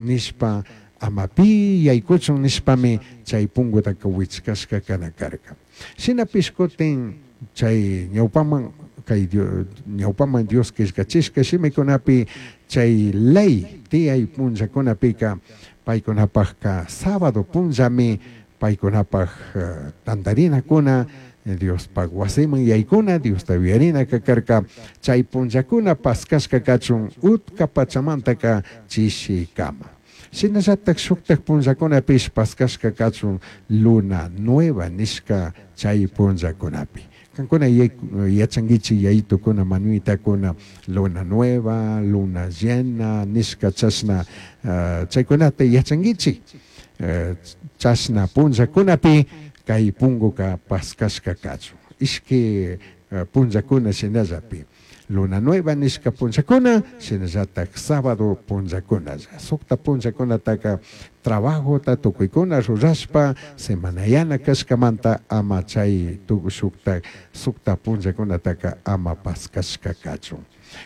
Nishpa, ama pi yaykuchun nishpami chay pungutaka wichkashka kana karka. Shinapish kutin chay ñawpaman kay ñawpaman Dios killkachishka shimikunapi chay ley tiyay punllakunapika paykunapakka sábado punllami paykunapak tantarinakuna Diospak wasiman yaykuna Diosta yuyarinaka karka. Chay punllakuna paskashka kachun utka pachamantaka chishikama. Shinallatak shuktak punllakunapish paskashka kachun luna nueva nishka chay punllakunapi. Kankuna yachankichik yayitukuna manuitakuna luna nueva, luna llena nishka chashna chaykunata yachankichik. Chashna punllakunapi kay punguka paskashka kachun. Ishki punllakuna shinallapi. Luna nueva nishka punllakuna, shinallatak sábado punllakunalla. Sukta punllakunataka trabajota tukuykuna rurashpa semanayana kashkamanta ama chay shukta sukta punllakunataka ama paskashka kachun.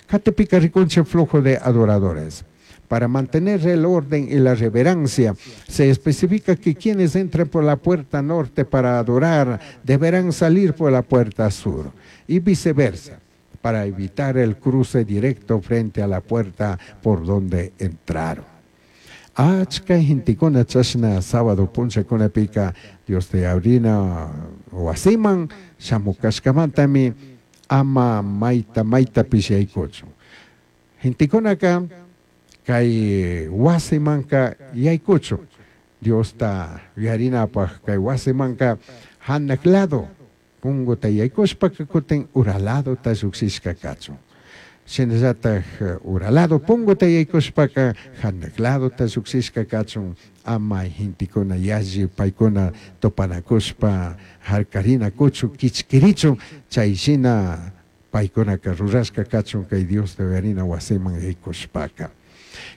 Katipika rikunchik flujo de adoradores. Para mantener el orden y la reverencia, se especifica que quienes entren por la puerta norte para adorar deberán salir por la puerta sur y viceversa, para evitar el cruce directo frente a la puerta por donde entraron. Achka gentekuna chashna sábado punllakunapika Dios te abrina wasiman shamukashkamantami ama mayta maytapish yaykuchun. Gentekunaka kay wasimanka yaykuchun. Diosta yuyarinapaj kay wasimanka hanak lado punguta yaykushpaka kutin ura ladota llukshishka kachun. Shinallatak ura lado punguta yaykushpaka hanak ladota llukshishka kachun ama gentekuna yalli paykuna tupanakushpa harkarinakuchun kichkirichun chay shina paykunaka rurashka kachun kay Diosta yuyarina wasiman yaykushpaka.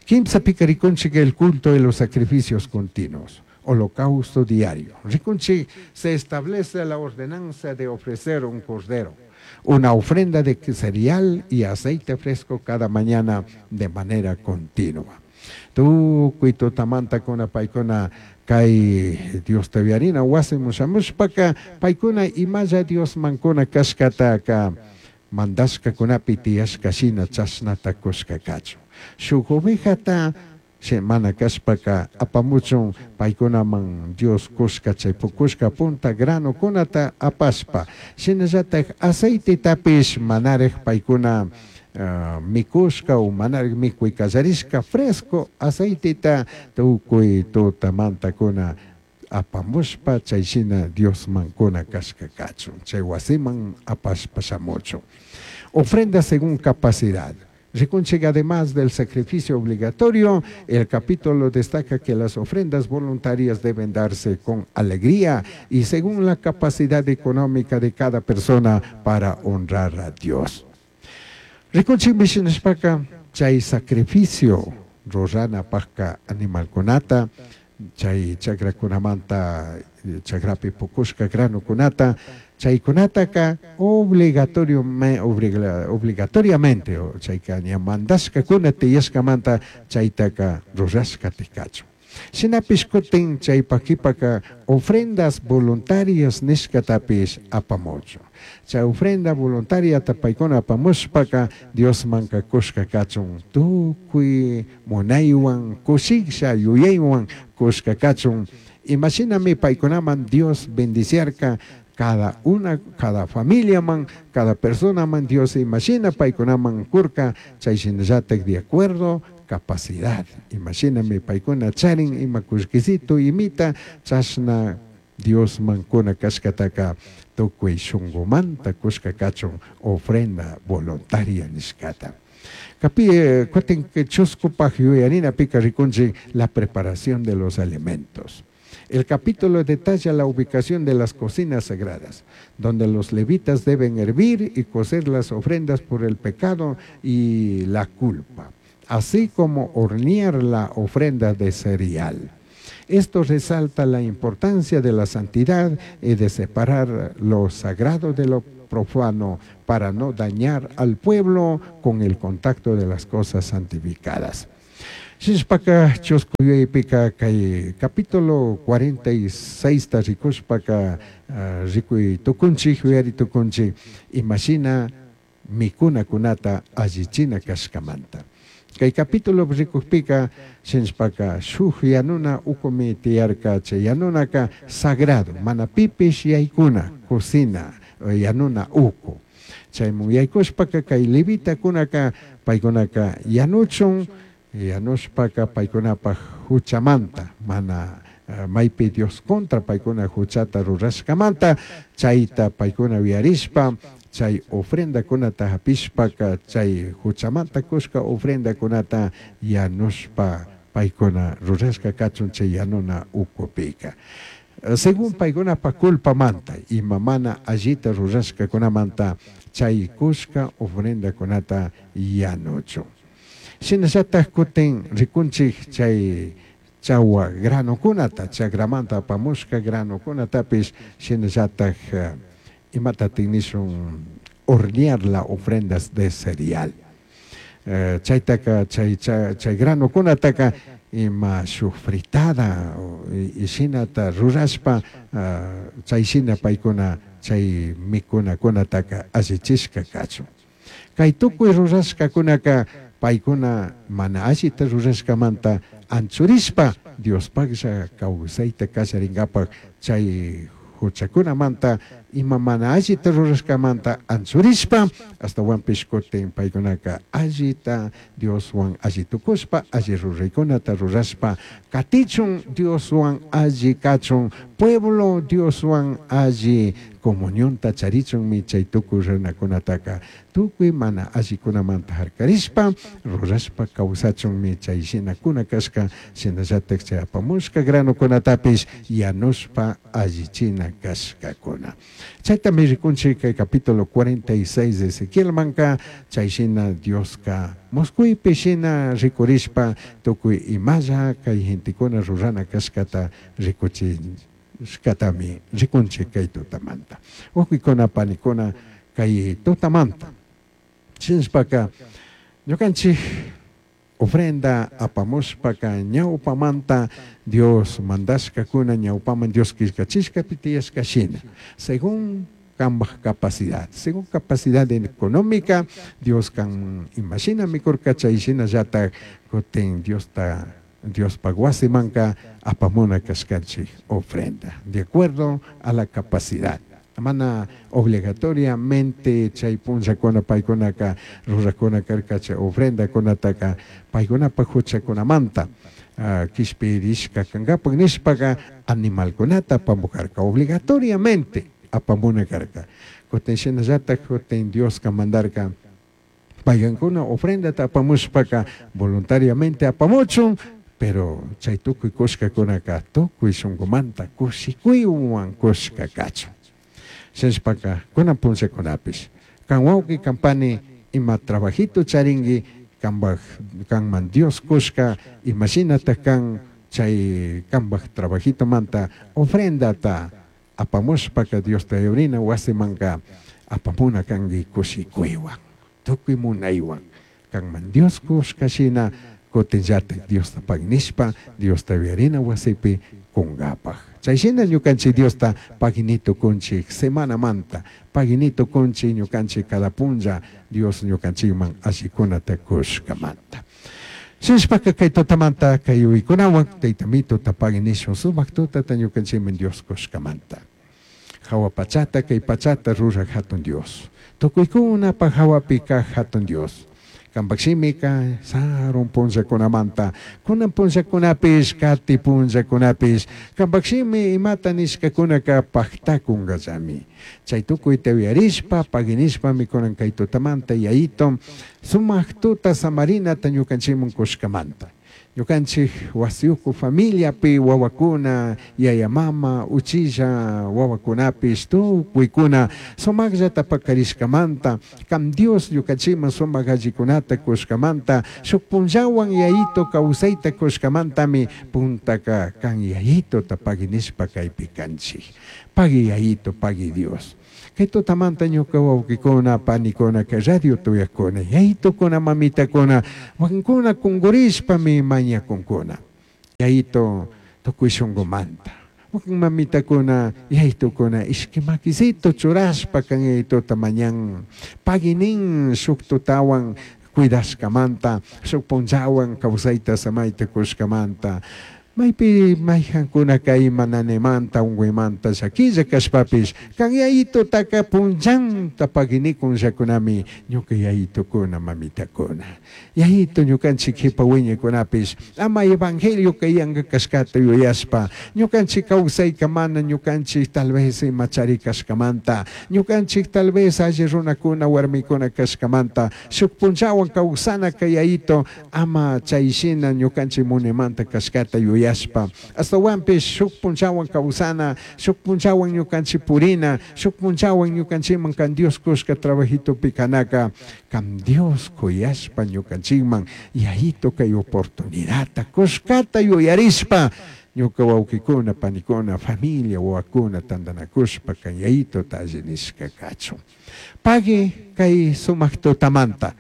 Kimsapika rikunchik el culto de los sacrificios continuos, holocausto diario. Rikunchik se establece la ordenanza de ofrecer un cordero, una ofrenda de cereal y aceite fresco cada mañana de manera continua. Tukuy tutamantakuna paykuna kay Diosta yuyarina wasiman shamushpaka paykuna imalla Diosmankuna kashkataka mandashkakunapi tiyashka shina chashnata kushka kachun. Shuk ovejata mana kashpaka apamuchun paykunaman Dios kushka chay pukushka punta granokunata apashpa. Shinallatak aceitetapis manarik paykuna mikushka o manarik mikuy kallarishka fresco aceiteta tukuy tutamantakuna apamushpa chay shina Diosmankuna kashka kachun chay wasiman apashpa shamuchun. Ofrenda según capacidad. Rikunchik, además del sacrificio obligatorio, el capítulo destaca que las ofrendas voluntarias deben darse con alegría y según la capacidad económica de cada persona para honrar a Dios. Rikunchik mishinishpaka chay sacrificio ruranapajka animalkunata, chay chakrakunamanta chakrapi pukushka granukunata, chaykunataka obligatorio obligatoriamente chayka ña mandashkakuna tiyashkamanta chaytaka rurashka tikachun. Shinapish kutin chaypak kipaka ofrendas voluntarias nishkatapish apamuchun. Chay ofrenda voluntariata paykuna apamushpaka Diosmanka kushka kachun tukuy munaywan kushisha yuyaywan kushka kachun. Imashinami paykunaman Dios bendiciarka cada una, cada familia man, cada persona man Dios imagina paykunaman kurka chay shinallatak de acuerdo capacidad. Imagíname paykuna charin ima kullkisito imita chashna Dios mankuna kashkataka tukuy shunkumanta kushka kachun ofrenda voluntaria nishkata. Kapi kutin chuskupaj yuyarinapika rikunchik la preparación de los alimentos. El capítulo detalla la ubicación de las cocinas sagradas, donde los levitas deben hervir y cocer las ofrendas por el pecado y la culpa, así como hornear la ofrenda de cereal. Esto resalta la importancia de la santidad y de separar lo sagrado de lo profano para no dañar al pueblo con el contacto de las cosas santificadas. Shinashpaka chusku yuyaypika kay capítulo 46 ta rikushpaka rikuy tukunchik, yuyari tukunchik imashina mikunakunata allichina kashkamanta. Kay capítulo rikukpika shinashpaka shuk yanuna ukumi tiyarka, chay yanunaka sagrado, mana pipish yaykuna cocina yanuna uku. Chaymun yaykushpaka kay levitakunaka paykunaka yanuchun, yanushpaka paykunapaj huchamanta, mana maypi Dios contra paykuna huchata rurashkamanta, chayta paykuna uyarishpa chay ofrendakunata hapishpaka chay huchamanta kushka ofrendakunata yanushpa paykuna rurashka kachun chay yanuna ukupika. Según paykunapa culpamanta, ima mana allita rurashkakunamanta chay kushka ofrendakunata yanuchun. Shinallataj kutin rikunchik chay chawa granokunata, chakramanta apamushka granokunatapish shinallataj imatatik nishun hornear la ofrendas de cereal. Chaytaka chay chay granokunataka ima shuk fritada shinata rurashpa chay shina paykuna chay mikunakunataka allichishka kachun. Kay tukuy rurashkakunaka paykuna mana allita rurashkamanta anchurishpa Diospaklla kawsayta kallarinkapak chay huchakunamanta ima mana allita rurashkamanta anchurishpa ashtawanpish kutin paykunaka allita Dioswan alli tukushpa alli ruraykunata rurashpa katichun Dioswan alli kachun pueblo Dioswan alli comunionta charichunmi chay tukuy runakunataka tukuy mana allikunamanta harkarishpa rurashpa kawsachunmi chay shinakuna kashka shinallatak chay apamushka granokunatapish yanushpa allichina kashkakuna. Chaytami rikunchik kay capítulo 46 de Ezequielmanka chay shina Dioska muskuypi shina rikurishpa tukuy imalla kay gentekuna rurana kashkata rikuchishkatami rikunchik kay tutamanta. Wawqikuna panikuna kay tutamanta shinashpaka ñukanchik ofrenda apamushpaka ñawpamanta Dios mandashkakuna ñawpaman Dios killkachishkapi tiyashka shina según kambaj capacidad, según capacidad económica Dios kan imashina mikurka chay shinallatak kutin Diosta Diospaj wasimanka apamuna kashkanchik ofrenda de acuerdo a la capacidad. Mana obligatoriamente chay punllakuna paykunaka rurakuna karka chay ofrendakunataka paykunapaj huchakunamanta kishpirishka kankapak nishpaka animalkunata apamukarka obligatoriamente apamuna karka. Kutin shinallatak kutin Dioska mandarka paykankuna ofrendata apamushpaka voluntariamente apamuchun, pero chay tukuy kushkakunaka tukuy shunkumanta kushikuywan kushka kachun. Shinashpaka kunan punllakunapish kan wawqi kan pani ima trabajito charinki kanpaj kanman Dios kushka imashinatak kan chay kanpaj trabajitomanta ofrendata apamushpaka Diosta yurina wasimanka apamuna kanki kushikuywan tukuy munaywan kanman Dios kushka shina kutinllatak Diosta pagnishpa Diosta yuyarina wasipi kunkapaj. Chay shina ñukanchik Diosta paginito kunchik semanamanta paginito kunchik ñukanchik cada punlla Dios ñukanchikman allikunata kushkamanta. Shinashpaka kay tutamanta kay yuyaykunawan taytamituta paginishun sumak tutata ñukanchikman Dios kushkamanta. Hawa pachata kay pachata ruraj hatun Dios. Tukuykunapaj hawapi kaj hatun Dios. Kanpak shimika sarun punllakunamanta kunan punllakunapish kati punllakunapish kanpak shimi imata nishkakunaka paktakunkallami. Chay tukuyta uyarishpa paginishpami kunan kay tutamanta yayito sumak tuta samarinata ñukanchikman kushkamanta. Ñukanchik wasiyuku familiapi wawakuna yaya mama uchilla wawakunapish tukuykuna sumakllata pakarishkamanta kam Dios ñukanchikman sumak allikunata kushkamanta shuk punllawan yayito kawsayta kushkamantami puntaka kan yayitota paginishpa kaypi kanchik. Pagui yayito, pagui Dios. Kay tutamanta ñuka wawqikuna, panikuna, kay radio tuyakuna, yayitukuna, mamitakuna, wakinkuna kunkurishpami mañakunkuna. Yayito tukuy shunkumanta. Wakin mamitakuna, yayitukuna, ishki makisito churashpa kan yayituta mañan. Pagui nin shuk tutawan cuidashkamanta, shuk punllawan kawsayta samayta kushkamanta. Maypi mayjankuna kay mananemanta unkuymanta llakilla kashpapish kan yayitutaka punllanta paguinikun llakunami ñuka yayitukuna mamitakuna. Yayito ñukanchik kipa wiñaykunapish ama evangelio kay yanka kashkata yuyashpa ñukanchik kawsayka mana ñukanchik tal vez ima chari kashkamanta ñukanchik tal vez alli runakuna warmikuna kashkamanta shuk punllawan kawsana kay yayito ama chay shina ñukanchik munimanta kashkata yuyashpa astawanpish shuk punllawan kawsana shuk punllawan ñukanchik purina shuk punllawan ñukanchikman kan Dios kushka trabajitopi kanaka kan Dios kuyashpa ñukanchikman yayito kay oportunidadta kushkata yuyarishpa ñuka wawqikuna panikuna familia wawakuna tantanakushpa kan yayitota alli nishka kachun. Pagui kay sumak tutamanta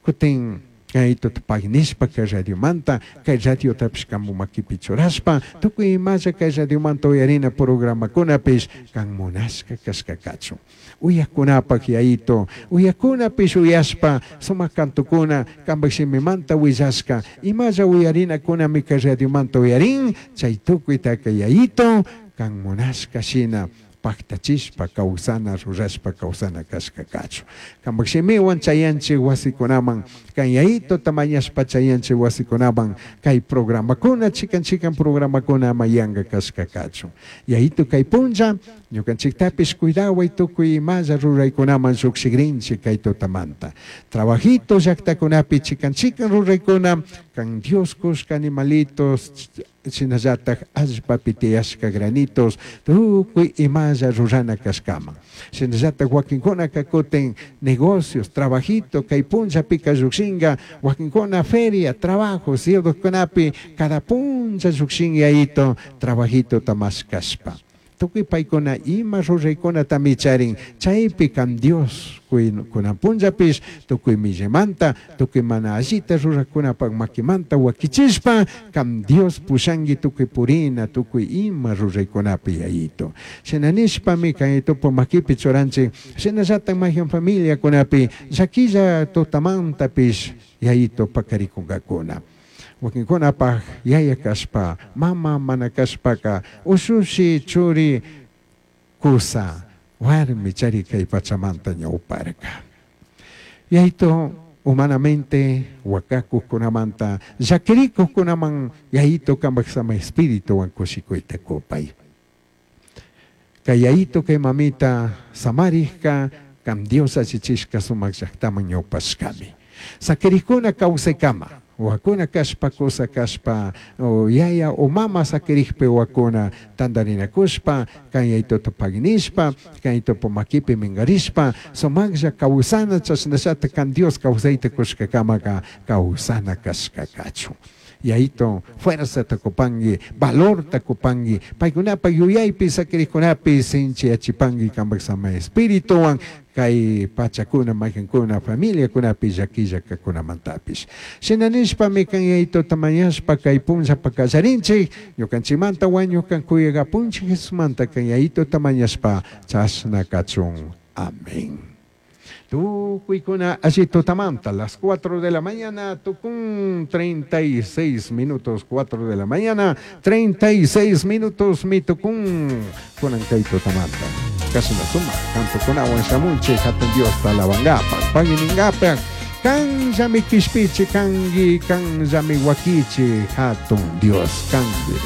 kutin yayitota pagui nishpa kay radiomanta kay radiotapish kanpu makipi churashpa tukuy imalla kay radiomanta uyarina programakunapish kan munashka kashka kachun. Uyakunapak yayito, uyakunapish uyashpa sumak kantukuna kanpak shimimanta willashka imalla uyarinakunami kay radiomanta uyarin chay tukuytaka yayito kan munashka shina paktachishpa kawsana rurashpa kawsana kashka kachun. Kanpak shimiwan chayanchik wasikunaman kan yayitota mañashpa chayanchik wasikunaman kay programakuna chikan chikan programakuna ama yanka kashka kachun. Yayito kay punlla ñukanchiktapish cuidaway tukuy imalla ruraykunaman llukshikrinchik kay tutamanta. Trabajito llaktakunapi chikan chikan ruraykuna kan Dios kushka animalitos shinallatak allpapi tiyashka granitos tukuy imalla rurana kashkaman. Shinallatak wakinkunaka kutin negocios, trabajito kay punllapika llukshinka wakinkuna feria, trabajo, kunapi cada punlla llukshin yayito trabajito mashkashpa. Tukuy paykuna ima ruraykunatami charin chaypi kan Dios kunan punllapish tukuy millamanta tukuy mana allita rurakunapak makimanta wakichishpa kan Dios pushanki tukuy purina tukuy ima ruraykunapi yayito. Shina nishpami kan yayitupa makipi churanchik shinallatak mayhan familiakunapi llakilla tutamantapish yayito pakarikunkakuna. Wakinkunapak yaya kashpa, mama mana kashpaka, ushushi churi kusa, warmi chari kay pachamanta ñawparka. Yayito humanamente wakakuqkunamanta llakirikuqkunaman yayito kanpak sama espirituwan kushikuyta kupay. Kay yayito kay mamita samarikka kan Dios allichishka sumak llaktaman ñawpashkami. Sakirikuna kawsaykama wakuna kashpa kusa kashpa o yaya o mama sakirikpi wakuna tantarinakushpa kan yayituta paginishpa kan yayitupa makipi minkarishpa sumaklla kawsana chashnallata kan Dios kawsayta kushkakamaka kawsana kashka kachun. Yayito fuerzata kupanki, valorta kupanki, paykunapak yuyaypi sakirikkunapi sinchiyachipanki kanpak sama espirituwan kay pachakuna maykankuna familiakunapi llakilla kakunamantapish. Shina nishpami kan yayituta mañashpa kay punllapa kallarinchik ñukanchikmanta wañukan kuyakapunchik Jesusmanta kan yayituta mañashpa chashna kachun. Amén. Tukuykuna alli tutamanta, las 4 de la mañana, tukun 36 minutos, 4 de la mañana, 36 minutos, mi tukun, kunan kay tutamanta. Casi na suma, tanto kunawan shamunchi, hatun Dios talabangapa, paginingapa, kan llami kishpichi, kangi, kan llami wakichi, hatun Dios, kangi.